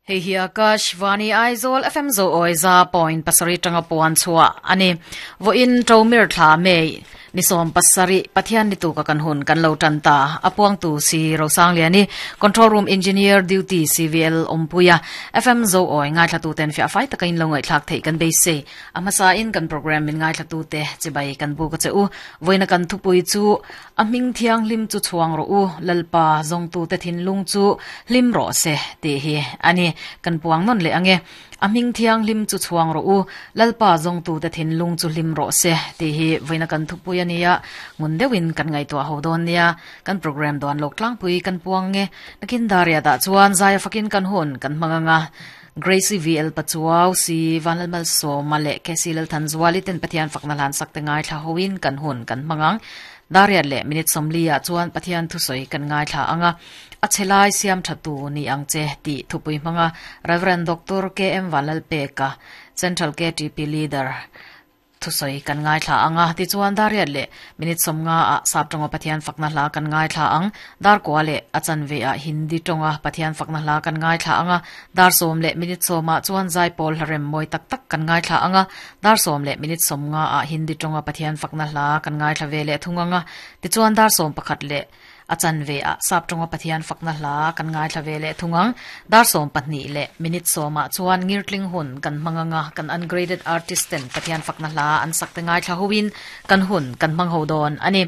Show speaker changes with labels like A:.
A: Hei hi Akash Vani Aizawl FM zo awi za point pasarih tanga puan chhuah a ni. Vawiin Ṭomir thla May ni 17 Pathian ni tuka kan hun kan lo tan ta. A puangtu si Rosangliani, Control Room Engineer Duty CVL Awmpuia, FM zo awi ngaithlatu ten fiah fai taka in lo ngaihthlak theih kan beisei. A hmasa in kan program min ngaithlatu te chibai kan buk a che u. Vawiina kan thupui chu A hming thianghlim chu chhuang rawh u, Lalpa zawngtute thinlung chu hlim rawh se, tih hi a ni. Kan puang nawn leh ang e. A hming thianghlim chu chhuang rawh u, Lalpa zawngtute thinlung chu hlim rawh se, tih hi vawiina kan thupui a nia, ngun deuhin kan ngaihtuah ho dawn nia. Kan program duan lawk tlangpui kan puang nge. Nakin Dariat-ah chuan zaia fakin kan hun kan hmang ang a. Gracie VL Pachuau, Si Vanlalmalsawma leh Cassie Lalthanzuali ten Pathian fakna hlan sak te ngaithla hoin kan hun kan hmang ang. Dariat leh minute 40 ah chuan Pathian thusawi kan ngaithla ang a, a chhe lai siam tha tu ni ang che tih thupui hmanga Rev. Doctor KM Vanlalpeka, Central KTP Leader, Thusawi kan ngaithla ang a, tichuan Dariat leh minute 50 ah Sap tawnga Pathian fakna hla kan ngaithla ang, dar kua leh a chanve ah Hindi tawnga Pathian fakna hla kan ngaithla ang a, dar 10 leh minute 10 ah chuan Zaipawl hla rem mawi tak tak kan ngaithla ang a, dar 10 leh minute 50 ah Hindi tawnga Pathian fakna hla kan ngaithla ve leh thung ang a, tichuan dar 11 leh A chanve ah Sap tawnga Pathian fakna hla kan ngaithla ve leh thung ang. Dar 12 leh minute 10 ah chuan ngirtling hun kan hmang anga kan ungraded artist ten Pathian fakna hla an sak te ngaithla ho in kan hun kan hmang ho dawn a ni.